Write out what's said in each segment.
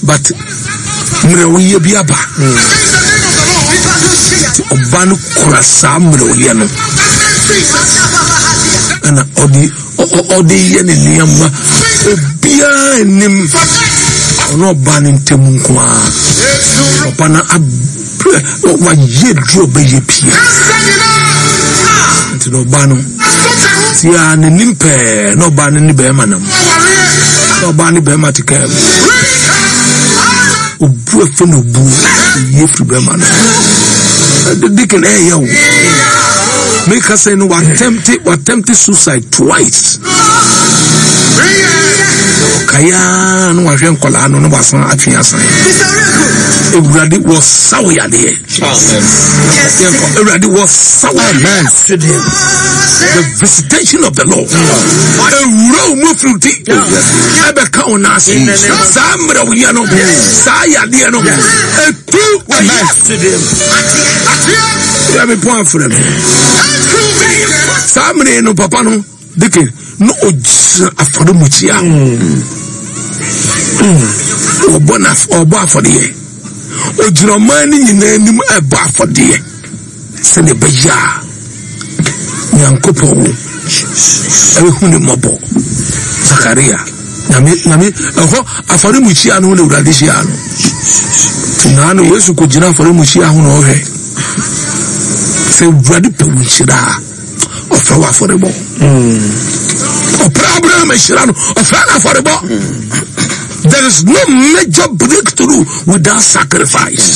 But mmerɛwyɛ bi aba. Nti ɔba no kura saa mmerɛwyɛ no ɛna ɔde ɔde yɛ ne nneɛma obiara nim ɔno ɔba no ntam nko ara papa no abrɛ wayɛ duro ɔbɛyɛ pia nti na ɔba no tia n'anim pɛɛ na ɔbaa no ne bɛrima nam na ɔbaa ne bɛrima te kaa mu obu efe na obu oyi efiri bɛrima no deacon ɛyɛ o meka sɛ no watɛmte watɛmte suicide twice ɔkaeɛ na wahwɛ nkɔlaa no na wasan atwe asan awurade wɔsaw yadeɛ Awurade wɔ sawa. Amen. The visitation of the Lord. Ewura wo mu firi ti. Ɛbɛka wo n'ase. Saa mmerɛ wo yɛ no. Saa yadeɛ no. Etu. Amen. Yɛ mi pɔn afrɛ mi. Saa mmerɛ no papa no. Deke na ɔgyina afɔremukyia ɔbɔ na ɔbɔ afɔdeɛ ɔgyina ɔman no nyinaa anim ɛbɔ afɔdeɛ sɛdeɛ ɛbɛyɛ a nyankopɔn ɛbɛhu ne mmɔbɔ Zakaria nyame nyame ɛhɔ afɔremukyia no ho na awurade hyia no nti naa no Yesu kɔgyina afɔremukyia ho na ɔhwɛ sɛ awurade pɛ wo nhyira a ɔfrɛ wɔ afɔrebɔ ɔpra Abraham ahyira no ɔfrɛ no afɔrebɔ there is no major breakthrough without sacrifice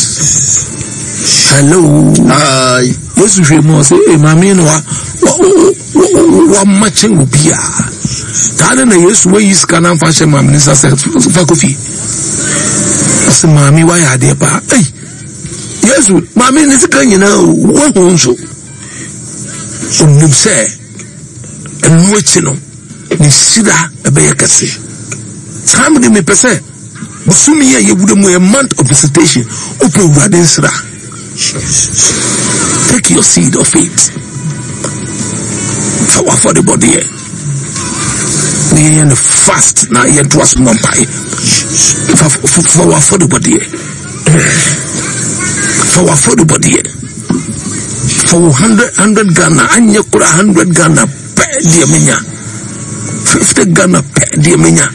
hello Hi. Yesu hwɛ mu ɔsɛ ee maame no wa wama kyɛn obi a taa ne na Yesu wayi sika na nfa hyɛ maame ne nsa sɛ fa kɔ fie ɔsɛ maame wayɛ adeɛ paa ei Yesu maame ne sika nyinaa wahu nso Onim sɛ ɛno akyi no, ne hyira ɛbɛyɛ kɛse. Saa mede mepɛ sɛ bosome yi a yɛwura mu yɛ month of visitation, wopɛ Awurade nsira. Take your seed of faith. Fa w'afɔrebɔdeɛ na yɛyɛ no fast na yɛntoa so mmɔ mpae. Fa fa w'afɔrebɔdeɛ. Fa w'afɔrebɔdeɛ. Fa wo hundred hundred Ghana anyɛ kora hundred Ghana pɛ deɛ menya. 50 Ghana pɛ deɛ menya.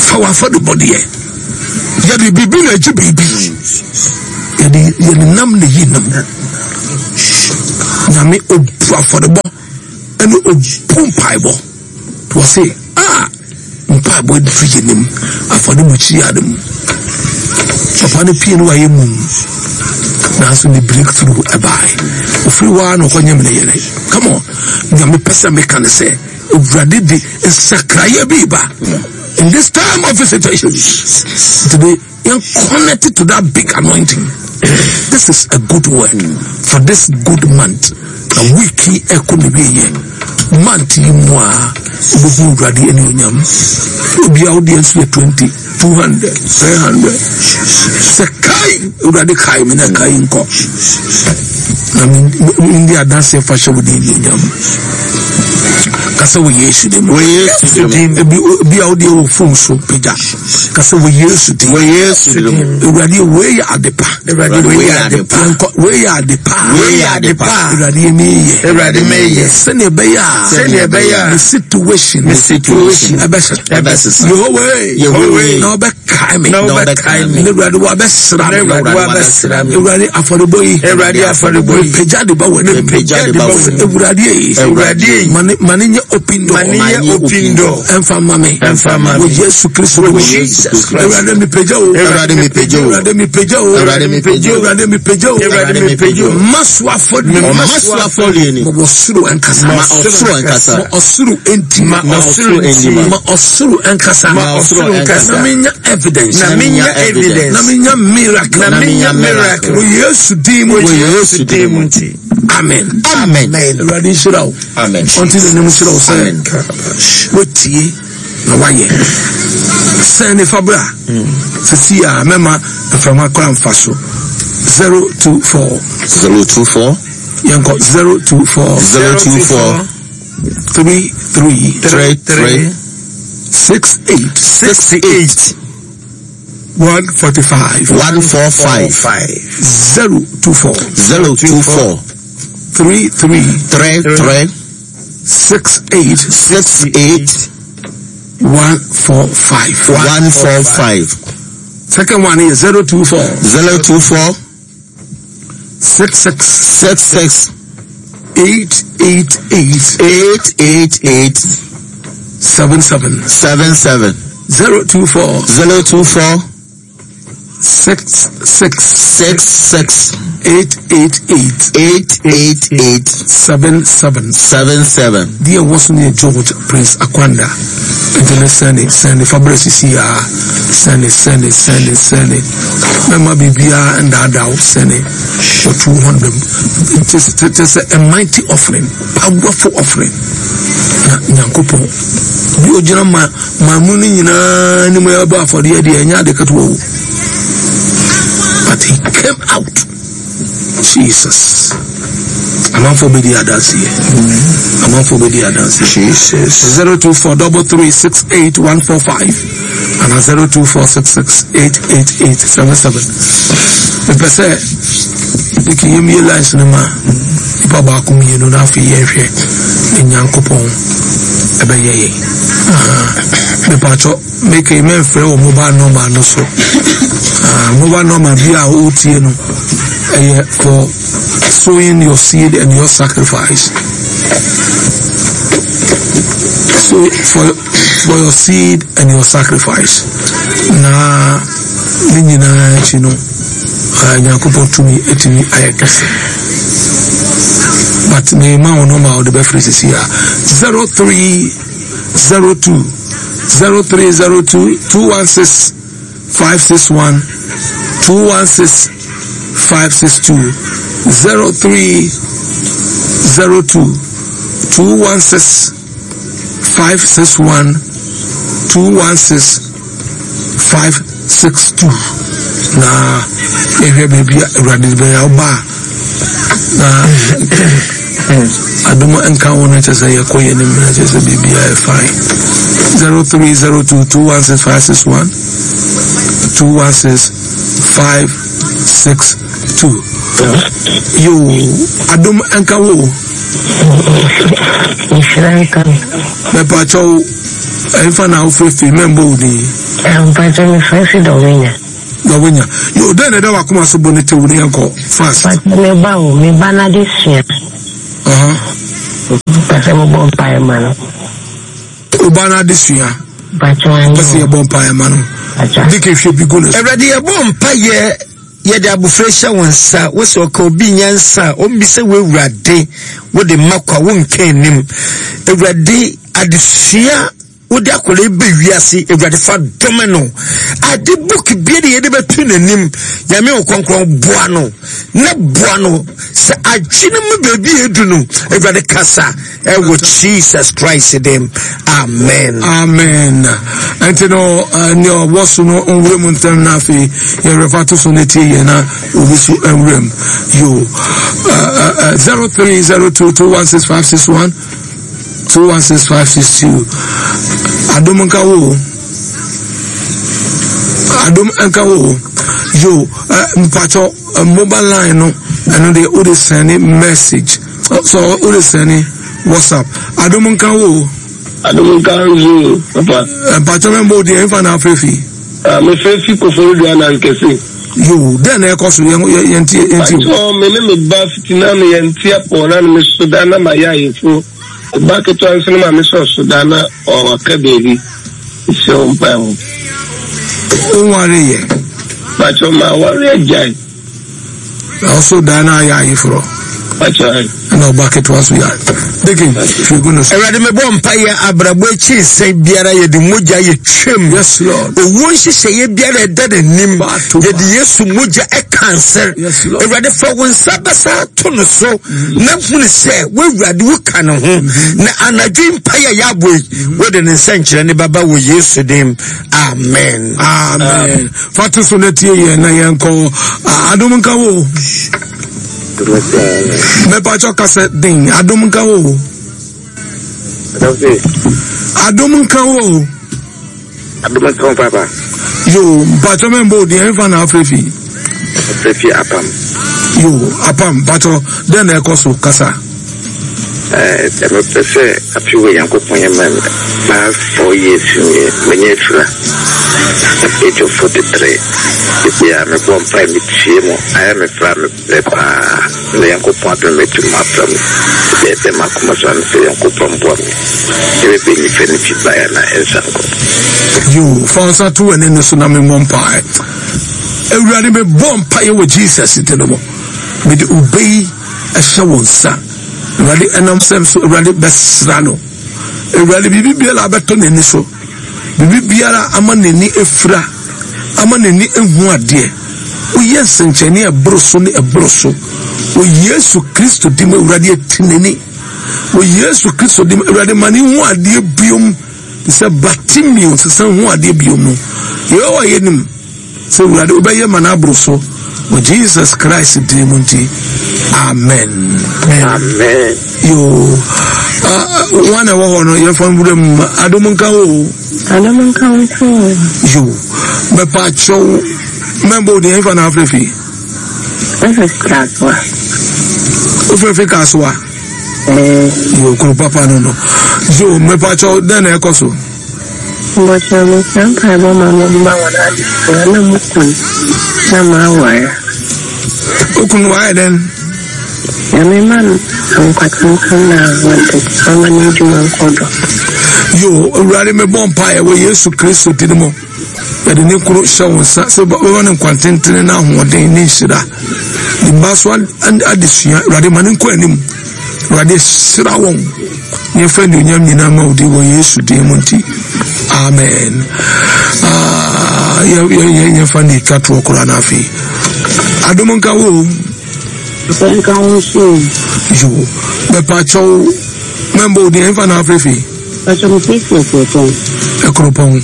Fa w'afɔrebɔdeɛ. Yɛde biribi na agye biribi. Yɛde yɛde nam na yi nam. Nyame obu afɔrebɔ ɛne obu mpaebɔ. Wɔse a mpaebɔ aduru yɛ nim afɔremukyia no mu. Papa no pie no wayɛ mum. Nanso ne breakthrough ɛbae. Ofiri hɔ ara na ɔkɔnyem ne yere. Come on. Nea mepɛ sɛ meka ne sɛ Awurade de nsakraeɛ bi ba. In this time of visitation, today, yɛn connect to that big anointing. This is a good word for this good month. Na week yi ɛkɔ ne wie yɛ. Month yi mu a wobɛhu Awurade anuonyam. Obiara wo deɛ nso yɛ 20, 200, 300. Sɛ kai Awurade kae me na kae nkɔ. Na mendi adanseɛ fa hyɛ wo din anuonyam. Kasa wɔ Yesu din mu. Wɔ Yesu din mu. Ebi obi a wo deɛ wɔ phone so pagya. Kasa wɔ Yesu din. Wɔ Yesu din mu. Awurade wei yɛ ade pa. Awurade wei yɛ ade pa. Yɛnkɔ wei yɛ ade pa. Wei yɛ ade pa. Awurade yɛ meyɛ. Awurade meyɛ. Sɛnea ɛbɛyɛ a. Sɛnea ɛbɛyɛ a. Me situation. Me situation. Ɛbɛsesa. Ɛbɛsesa. Yehowa. Yehowa. Na ɔbɛkae me. Na ɔbɛkae me. Na Awurade wabɛsra me. Na Awurade wabɛsra me. Awurade afɔrebɔ yi. Awurade afɔrebɔ yi. Mepagya de ba wɔ anim. Mepagya de ba wɔ anim. Awurade yi. Awurade yi. Ma ne nyɛ open door. Ma ne nyɛ open door. Ɛnfa ma me. Ɛnfa ma me. Wɔ Yesu Kristo mu. Wɔ Jesus Christ. Awurade mepagya o. Awurade mepagya o. Awurade mepagya o. Awurade mepagya o. Awurade mepagya o. Awurade mepagya o. Ma so afɔdeɛ. Ma so afɔdeɛ ni. Ma ɔsoro nkasa. Ma ɔsoro nkasa. Ma ɔsoro nti. Ma ɔsoro nti. Ma ɔsoro nkasa. Ma ɔsoro nkasa. Na menya evidence. Na menya evidence. Na menya miracle. Na menya miracle. Wɔ Yesu din mu. Wɔ Yesu din mu nti. Amen. Amen. Awurade nhyira wo. Amen. Ɔnte n'anim nhyira wo sɛ wotie na wayɛ. Sɛn ne fa bra. Sisi a mɛma mframa kora mfa so. 024 024 yɛnkɔ 024 024 33 33 68 68. 145. 145. 024. 024. 33. 33. 68. 68. 145. 145. Second one is 024. 024. 66. 66. 888. 888. 77. 77. 024. 024. 66. 66. 888. 888. 77. 77. Deɛ ɛwɔ so no yɛ George Prince Akwanda. Nti no sɛne sɛne fa brɛ sisi a sɛne sɛne sɛne sɛne mɛma biribiara ndaadaa wo sɛne for 200 nti kyɛ sɛ a mighty offering, powerful offering na Nyankopɔn bi ogyina ma ma mu no nyinaa anim ɛbɔ afɔdeɛ deɛ ɛnyɛ ade ketewa o, but he came out. Jesus, amanfoɔ bɛdi adanseɛ, amanfoɔ bɛdi adanseɛ. Jesus. 024 33 68 145 ana 024 66 888 77. Mepɛ sɛ deke yɛmmie lines no ma nipa baako mmienu na afei yɛnhwɛ ne Nyankopɔn ɛbɛyɛ yɛn. Mepatwɔ meke mɛmfrɛ wɔ mobile number no so. Ah, mobile number bi a wotie no ɛyɛ for sowing your seed and your sacrifice. So for your seed and your sacrifice. Na ne nyinaa akyi no, Nyankopɔn tumi etumi ayɛ kɛse. But me ma wo number a wode bɛfrɛ sisi a 0302 0302 216 561 216 562 0302 216 561 216 562. Na yɛhwɛ baabi a Awurade bɛyɛ ɔba a na adom nka wo no, kyɛ sɛ yɛkɔ yɛ anim na kyɛ sɛ biribiaa yɛ fine. 0302 216 561 216 562. Yo, adom nka wo. Nhyira nka me. Mɛpakyɛw, ɛmfa na wofirifiri, mɛmbɔ wo din. Mpakyɛ, mefrɛ fi Dɔwenya. Dɔwenya. Yo, dɛn na ɛda wakoma so? Bɔ ne tew ne yɛnkɔ fast. Mpakyɛ, me ba o, me ba no ade sua. Pɛ sɛ mobɔ mpaeɛ ma no. Wo ba no ade sua. Mpakyɛ anyi. Pɛ sɛ yɛbɔ mpaeɛ ma no. Dike hwɛ bi gu ne so. Awurade, yɛbɔ mpaeɛ, yɛde abofra hyɛ wo nsa. Wo sɛ ɔka obi nyansa a ɔmmisa wo, Awurade, wode ma kwa, wonka anim. Awurade, adesua wode akwadaa yi bɛ wiase, Awurade, fa dɔme no. Ade book bia de yɛde bɛto n'anim, Nyame wo kɔnkrɔn, boa no na boa no sɛ adwene mu baabi a ɛdu no. Awurade, kasa ɛwɔ Jesus Christ dem, amen. Amen. Ɛnti no nea ɔwɔ so no nwura mu ntɛm na afei yɛrefa to so no tie yɛn na obi so nwura mu. Yo, 0302 216561 216562. Adom nka wo, adom nka wo. Yo, mpakyɛ, mobile line no, ɛno deɛ wode sɛne message so, wode sɛne WhatsApp. Adom nka wo. Adom nka nso, papa. Mpakyɛ, mɛmbɔ wo deɛ, ɛmfa na afrɛ fi? Mefrɛ fi Koforidua na nkɛse. Yo, dɛn na ɛkɔ so? Yɛntie, yɛntie. Mpakyɛ, me ne me ba fiti na me yɛnte apɔ na me so da na mayɛ ayeforo. Ba ketewa nso no ma me sɔ so da na ɔwaka baabi sɛ wo mpae ho. Wonware yɛ? Mpakyɛ, ma aware agyae. Na ɔso da na ayɛ ayeforɔ. Mpakyɛ. Ɛna ɔba ketewa so yɛ deke hwɛ gu no so. Awurade, mebɔ mpaeɛ, abrabɔ akyi nsɛn biara yɛde mogya yɛtwam. Yes, Lord. Owuo nhyehyɛeɛ biara ɛda n'anim, yɛde Yesu mogya ɛka nsɛr. Yes, Lord. Awurade, fa wo nsa bɛsa to no so na hunu sɛ woawurade woka ne ho, na anadwo yi mpaeɛ a yɛabɔ yi, wode ne nsɛnkyerɛ ne bɛba wɔ Yesu dim, amen. Amen. Fa to so na tie yɛn na yɛnkɔ. Ah, adom nka wo. Mɛpakyɛ, kasa den. Adom nka wo. Adom nka wo. Adom nka wo papa. Yo, mpatsɔ mɛ mbɔ odin ɛnfa na afrɛ fi. Afrɛ fi apam. Yo, apam mpatsɔ dɛn na ɛkɔ so kasa. Ɛɛ eh, mepɛ sɛ afe wɔ Nyankopɔn yɛ ma last 4 years nie manya afira at age of 43 ebia mebɔ mpae metie mu ayɛ me fra me Brɛ paa na Nyankopɔn adom me to m'afra mu dɛɛdɛ m'akoma so ano sɛ Nyankopɔn mboa me sɛ mɛbɛ nyifa ne fi bae anaa ɛnsa nkɔ. Yoo, fa wo nsa to w'ani no so na me mmɔ mpae. Awurade, me bɔ mpaeɛ wɔ Jesus din mu. Mede ube yi ɛhyɛ wo nsa. Awurade, ɛnam sɛm so, Awurade bɛsra no. Awurade, biribi biara abɛtɔ n'ani so. Biribi biara ama n'ani afira, ama n'ani ehu adeɛ. Woyɛ nsɛnkyerɛnne a ɛboro so ne ɛboro so. Wɔ Yesu Kristo din mu, Awurade ati n'ani. Wɔ Yesu Kristo din mu, Awurade ma ne hu adeɛ biom. Te sɛ Bartimeo sesa hu adeɛ biom no. Yehowa yɛnim sɛ Awurade wobɛyɛ ma no aboro so. Wɔ Jesus Christ din mu nti, amen. Amen. Yoo, wɔn na ɛwɔ hɔ no yɛfa nwura mu adom nka wo. Adom nka wo nso. Yoo, mɛpa akyɛw mɛmbɔ wo din ɛmfa na afrɛ fi. Ɛfɛ kasoa. Wofrɛ fi kasoa. Yoo, kuro papa no no. Yoo, mɛpa akyɛw dɛn na ɛkɔ so. Mbɔkyerɛ mesrɛ mpaebɔ ma mo mma wɔn adesua na mo kun na m'aware. Wo kunu wayɛ dɛn? Nyame ma no nkwa tenten na ahoɔden ɔma n'adwuma nkɔ do. Yo, Awurade mebɔ mpaeɛ wɔ Yesu Kristo din mu. Yɛde ne kunu hyɛ wo nsa sɛ bɛma no nkwa tentene na ahoɔden ne nhyira. Ne mma so adesua, Awurade ma no nkɔ anim. Awurade hyira wɔn. Na yɛfa anuonyam nyinaa ma wo din wɔ Yesu din mu nti. Amen. Ah, yɛfa ne twa toɔ koraa no afei. Adom nka wo. Nka wo nso. Yo, bɛpa kyɛw mɛmbɔ wo din ɛmfa na afrɛ fi. Pacho me fi Ɛkuropɔn. Ɛkuropɔn.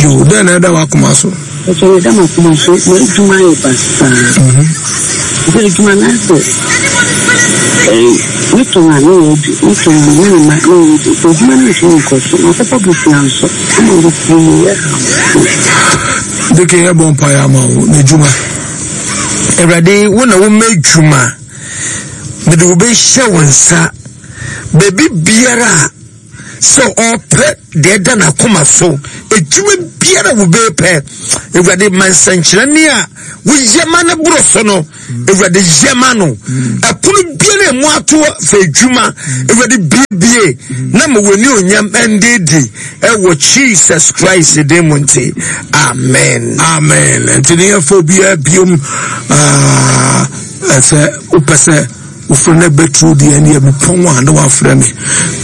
Yo, dɛn na ɛda w'akoma so? Pacho me da m'akoma so, m'adwuma ayɛ basaa. Sɛ adwuma no asɛ ɛyi me tɔn a ne yɛ adu, me tɔn a ne ne ma ne yɛ adu. Sɛ adwuma no ntumi nkɔ so, makɔfa bosea nso ama bebree yɛ ha. Deke yɛ bɔ mpaeɛ ama wo n'adwuma. Awurade, wo na woma adwuma. Mede wo bɛhyɛ wo nsa. Baabi biara a sɛ ɔpɛ deɛ ɛda n'akoma so adwuma biara wo bɛpɛ awurade ma nsɛnkyerɛnne a woyɛ ma no borɔ so no awurade yɛ ma no ɛpono biara emu ato fɛ adwuma awurade biebie na ma w'ani onyam ɛndeedi ɛwɔ jesus christ din mu nti amen. Amen. Nti ne yɛfa obiara biom sɛ wopɛ sɛ wofrɛ no bɛturu deɛ ɛneɛ mepɔn a na wafrɛ me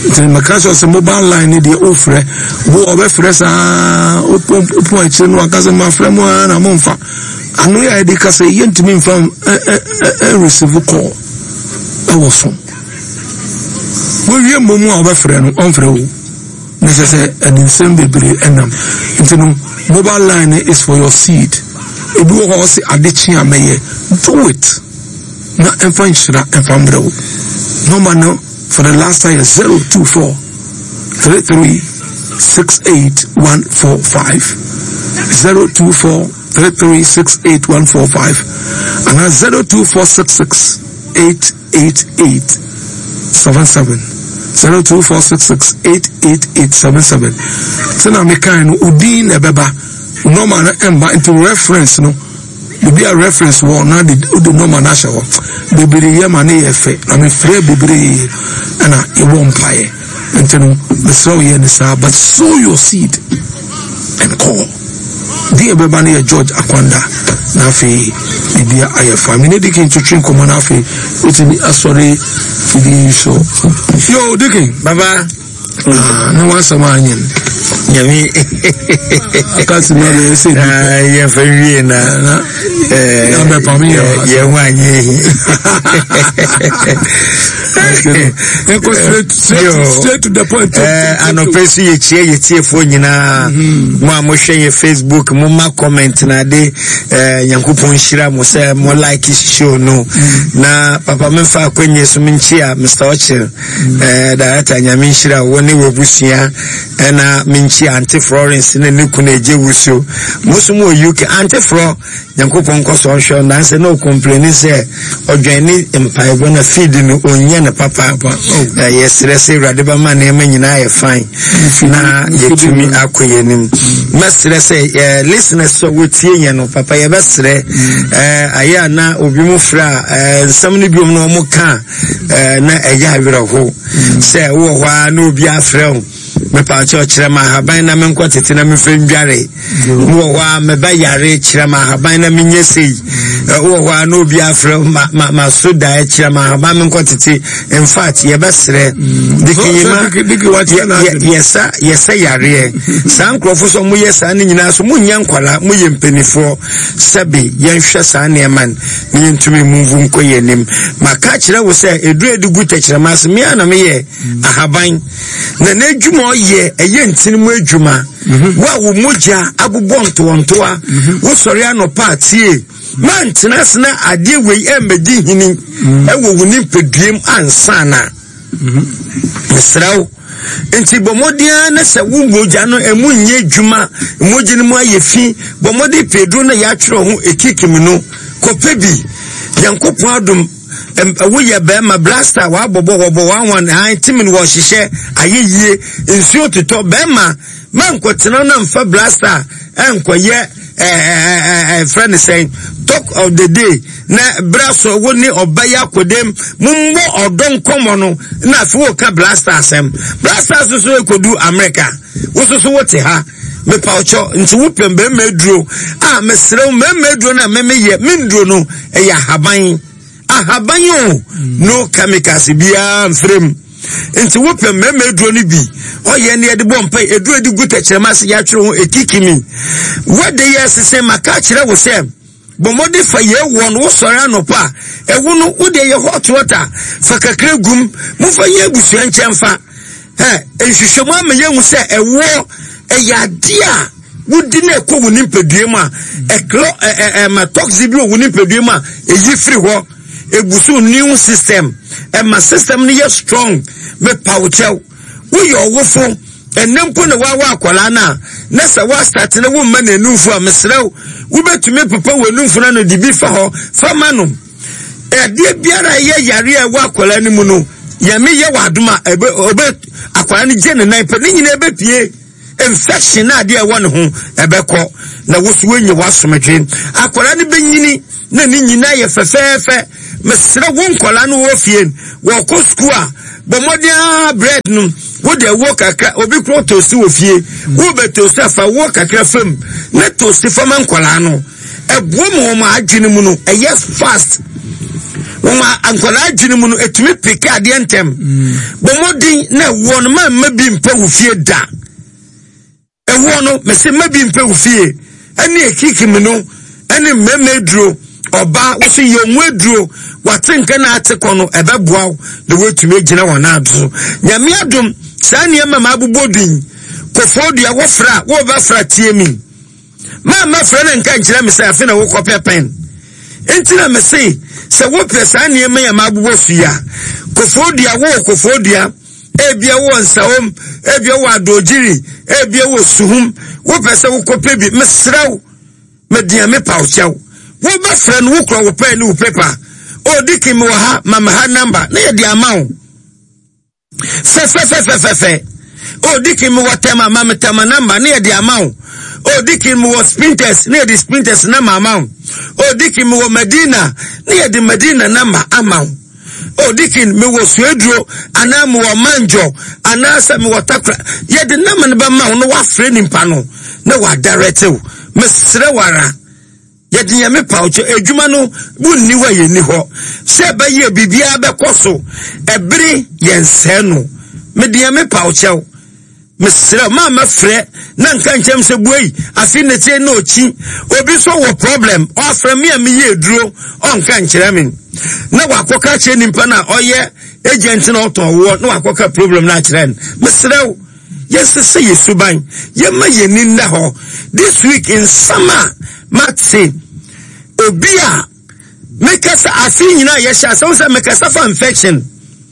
nti meka sɛ sɛ mobile line no deɛ wofrɛ wo ɔbɛfrɛ saa wopɔn akyire no waka sɛ mafrɛ mu a na momfa ano yɛ a yɛde ka sɛ yɛntumi mfa receive call ɛwɔ so wowie mmom a wobɛfrɛ no ɔmfrɛ wo na kyerɛ sɛ ɛde nsɛm bebree ɛnam nti no mobile line is for your seed ebi wɔ hɔ a ɔse ade kye a mɛyɛ do it na ɛmfa nhyira ɛmfa mbrɛ wo nɔmba no for the last time yɛ 024 33 68 145 024 33 68 145 anaa 02466 888 77 02466 888 77 sɛnea mekae no odin na ɛbɛba nɔmba no ɛmba nti reference no Baabi a reference wɔ na de wode nɔma no ahyɛ hɔ. Bebree yɛ ma ne yɛ fɛ na mefrɛ bebree ɛna yɛbɔ mpaeɛ. Nti no mesrɛ wo yɛ ne saa but sow your seed and call. Din ɛbɛba no yɛ George Akwanda na afei bibia ayɛ fa. Me ne Dikin twetwe nkɔmmɔ na afei wotumi asɔre fidie yi so. Yo Dikin. Baba. Ah, ne wasɛm anyɛ no nyame akasi ma bɛyɛ sɛ bi ah, yɛmfa wie na yɛbɛpam yɛ yɛn ho anyɛ yi yɛnkɔ straight straight straight to the point anɔpɛ so yɛkyia yɛtiefoɔ nyinaa mhm. mo a mohwɛ yɛ facebook mo ma comment na ade nyankopɔn nhyira mo sɛ mo like show no mhm. na papa memfa akwanyɛ so menkyia mr ɔkyere Eh, director nyame nhyira wo ne w'abusua ɛna menkyia. Yɛkyia Auntie Florence ne ne kunu Agye Wusuo. Mo nso mo wɔ UK. Auntie Flor, Nyankopɔn nkɔ so ɔnhwɛ wo. Nansa na ɔkompleni sɛ ɔdwɛn ne mpaebɔ na feed no ɔnyɛ no papa. Oh. Eh, yɛsrɛ sɛ Awurade bɛma nneɛma nyinaa yɛ fine na yɛtumi akɔ yɛn anim. Mɛsrɛ sɛ eh, listeners sɛ wɔtie yɛn no papa yɛbɛsrɛ mm. eh, ayɛ a na obi mu frɛ a nsɛm no biom na wɔn ka na ɛyɛ awerɛho mm. sɛ wowɔ hɔ a na obi afrɛ wo mepaakyɛw kyerɛ me ahaban na menkɔ tete na memfa ndware wɔ hɔ a meba yare kyerɛ me ahaban na menyɛ sei wɔ hɔ a na obi afrɛ ma ma ma so daeɛ kyerɛ me ahaban menkɔ tete in fact yɛbɛsrɛ mm. dikinyima yɛsa yɛsɛ yareɛ saa nkurɔfo sɛ moyɛ saa ne nyinaa so monyɛ nkwala moyɛ mpanimfoɔ sɛbe yɛnhwɛ saa nneɛma no na yɛntumi mumvu nkɔ yɛn anim maka kyerɛ wo sɛ ɛduru adi gu tɛkyerɛma ase mea na meyɛ ahaban na n'adwuma ɔyɛ ɛyɛ ntini mu adwuma mhm. wo a wo mogya abobɔ ntoantoa mhm. wosɔre anɔpa atie mantena ase na adeɛ wei ɛmmɛdi hini mhm. ɛwɔ wo nipaduam ansa na mesrɛ wo nti bɔ mmɔden ara na sɛ wo mogya no ɛmu nyɛ adwuma mogya no mu ayɛ fi bɔ mmɔden pɛ aduro no yɛatwerɛ ho ɛkikim no kɔpɛ bi nyankopɔn adom woyɛ bɛrima blaster wabɔbɔ wɔbɔ wanwan han timin wɔhyehyɛ ayɛ yie nsuo totɔ bɛrima mankɔtena na mfa blaster ɛnkɔyɛ ɛɛ frɛ ne sɛn talk of the day na bra so wo ne ɔba yi akɔdɛm mommɔ ɔdɔ nkɔmmɔ no na afei woka blaster asɛm blaster so so ɛkɔdu Amerika wo so so wote ha mepawkyɛ nti wopɛ mmarima aduro a mesrɛ wo mmarima aduro no a memeyɛ menduro no ɛyɛ ahaban ahaban o no chemicals biara mfrɛ mu nti wopɛ mmarima aduro no bi ɔyɛ ne yɛde bɔ mpa aduro de gu tɛkyerɛma ase yɛatwerɛ ho ɛkiki mi wɔde yɛ sese maka kyerɛ wo sɛ Bɔ mmɔden fa yei wɔ no, wosɔre anɔpa a, ɛwo no, wo deɛ yɛ hot water, fa kakra gum, momfa nyɛ abusua nkyɛn fa. Ɛ, nhwehwɛmu ama yɛhu sɛ ɛwoɔ ɛyɛ adeɛ a wodi na ɛkɔ wo nipadua mu a, ɛklɔ ɛ ɛ ɛma toxin bi wɔ wo nipadua mu a, ɛyi firi hɔ, ɛgu so immune system, ɛma system no yɛ strong, mepa wo kyɛw. Woyɛ ɔwofo, ɛnnɛ mpo na woawo akwadaa no a, na sɛ woastate na womma no anumfo a, mesrɛ wo, wobɛtumi apepa w'anumfo no ano de bi fa hɔ fa ma no. Adeɛ biara a ɛyɛ yareɛ a ɛwɔ akwadaa no mu no, Nyame yɛ w'adom a, ɛbɛ, ɔbɛ, akwadaa no gye ne nan pɛ, ne nyinaa ɛbɛpie. Infection na adeɛ a ɛwɔ ne ho ɛbɛkɔ, na wo so woanya w'asomdwe. Akwadaa no bɛnyini na ne nyinaa yɛ fɛfɛɛfɛ. Mesrɛ wo nkwadaa no wɔ fie wɔkɔ sukuu a, bɔ mmɔden ara bread no wode ɛwoɔ kakra, obi koro toast wɔ fie, wobɛ toast a fa woɔ kakra fam na toast fa ma nkwadaa no. Ɛboa ma wɔn adwene mu no ɛyɛ fast. Wɔn nkwadaa adwene mu no ɛtumi peke adeɛ ntɛm. Bɔ mmɔden na ɛwoɔ no ma mma bi mpɛ wo fie da. Ɛwoɔ no mese mma bi mpɛ wo fie ɛne ekiki no ɛne mmarima aduro ɔbaa woso yɛ ɔmo aduro wate nka na ate kɔ no ɛbɛboa wo na woatumi agyina wɔn ado so. Nyame adom saa nneɛma ma abobɔ din kɔfɔɔ dua wɔfra a wɔbɛfra tie mi. Maa mɛfrɛ no nka nkyerɛ me sɛ afe na wokɔpɛ pɛn. Nti na mese sɛ wopɛ saa nneɛma yi a mabobɔ so yi a, kofoɔ dua, wowɔ kofoɔ dua, ebia wowɔ nsawom, ebia wowɔ adoogyiri, ebia wowɔ suhum, wopɛ sɛ wokɔpɛ bi, mesrɛ wo, medeɛ mepa wo kyɛw. Wobɛfrɛ no, wokura wo pɛn ne wo pepa. O, Dikin, mewɔ ha, ma me ha namba, na yɛde ama wo. Fɛfɛfɛfɛfɛ. O Dikin mewɔ tɛma ma me tɛma namba ne yɛde ama wo. O Dikin mewɔ sprinters ne yɛde sprinters namba ama wo. O Dikin mewɔ Madina ne yɛde Madina namba ama wo. O Dikin mewɔ Sueduro anaa mewɔ Manjɔ anaasɛ mewɔ Takra yɛde namba no bɛma wo na wafrɛ nipa no na wadarɛte wo. Mesrɛ wo ara. Yɛde Nyame paw kyɛ adwuma no wo nni hɔ a yɛnni hɔ sɛ ɛbɛyɛ biribiara bɛkɔ so ɛbere yɛnsɛe no mede Nyame paw kyɛw mesrɛ ma mɛfrɛ na nka nkyɛm sɛ buei afe ne kyɛ na ɔkyi obi so wɔ problem ɔafrɛ me a meyɛ aduro ɔnka nkyerɛ me na wakɔka kyerɛ nipa no a ɔyɛ agent na ɔtɔn woɔ na wakɔka problem no akyerɛ no mesrɛ wo Yɛnsesa yɛ suban, yɛmma yɛn ani nna hɔ. This week nsɛm a mate, obi a mekasa afe nyinaa yɛhyɛ asɛm sɛ mekasa fa infection.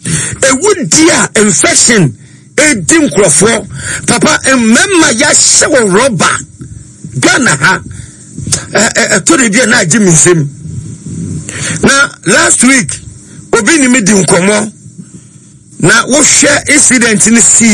Ewu di a infection. Ɛdi nkurɔfoɔ papa mmarima yɛahyɛ wɔ rɔba Ghana ha ɛtɔ de bi a na agye me nsam na last week obi ne me di nkɔmmɔ na wohwɛ incident no si.